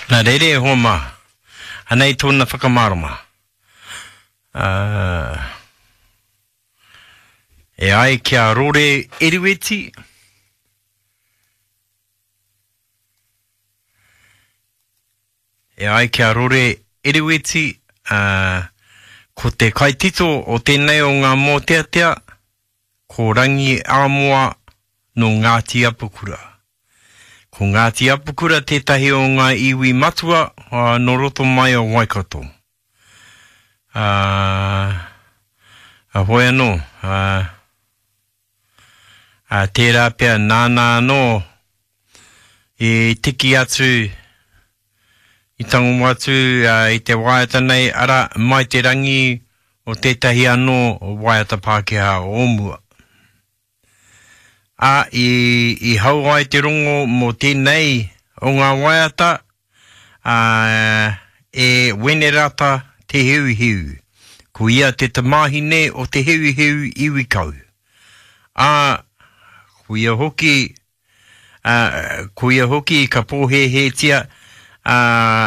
Nā reira e hoa mā, anei tōna whakamārama. Ā, e ai ki a Rore Erueti, e ai ki a Rore Erueti, ā, ko te kaitito o tēnei o ngā mōteatea, ko Rangi Amoa nō Ngāti Apakura. Ko Ngāti Apakura tētahi o ngā iwi matua nō roto mai o Waikato. Ā, hoi anō, ā, ā, tērā pea nāna anō i tiki atu, i tango atu i te waiata nei, arā, mai te rangi o tētahi anō waiata Pākehā o mua. Ā, i, i hau ai te rongo mō tēnei o ngā waiata, ā, e Wenerata Te Heuheu. Ko ia te tamāhine o Te Heuheu Iwikau. Ā, ko ia hoki, ā, ko ia hoki ka pōhēhētia, ā,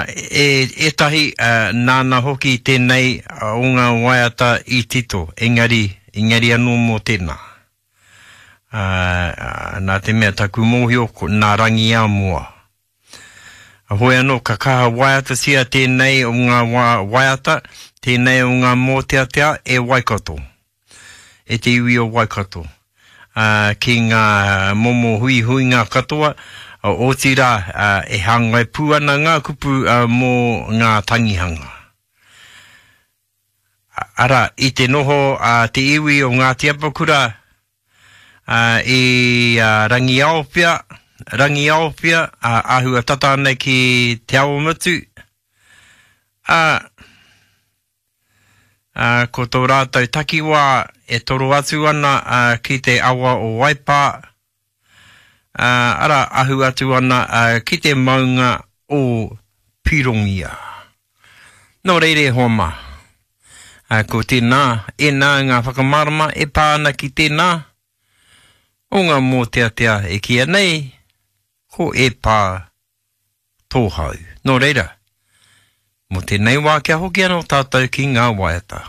e ētahi, ā, nāna hoki tēnei o ngā waiata i tito, engari, engari anō mō tēnā. Ā, nā te mea taku mōhio, ko, nā Rangiamoa. Hoi anō, ka kaha waiatatia tēnei o ngā wā waiata, tēnei o ngā mōteatea e Waikato, e te iwi o Waikato, ā, ki ngā momo huihuinga katoa, otirā, e hāngai pū ana ngā kupu mō ngā tangihanga. Arā, i te noho a te iwi o Ngāti Apakura i Rangiaowhia, Rangiaowhia, āhua tata ana ki Te Awamutu, ā, ā, ko tō rātou takiwā e toro atu ana ki te awa o Waipā, ā, arā, ahu atu ana ki te maunga o Pirongia. Nō reira e hoa mā, ko tēnā, ēnā ngā whakamārama e pā ana ki tēnā o ngā mōteatea e kīia nei ko E Pā Tō Hau. Nō reira, mō tēnei wā kia hoki anō tātou ki ngā waiata.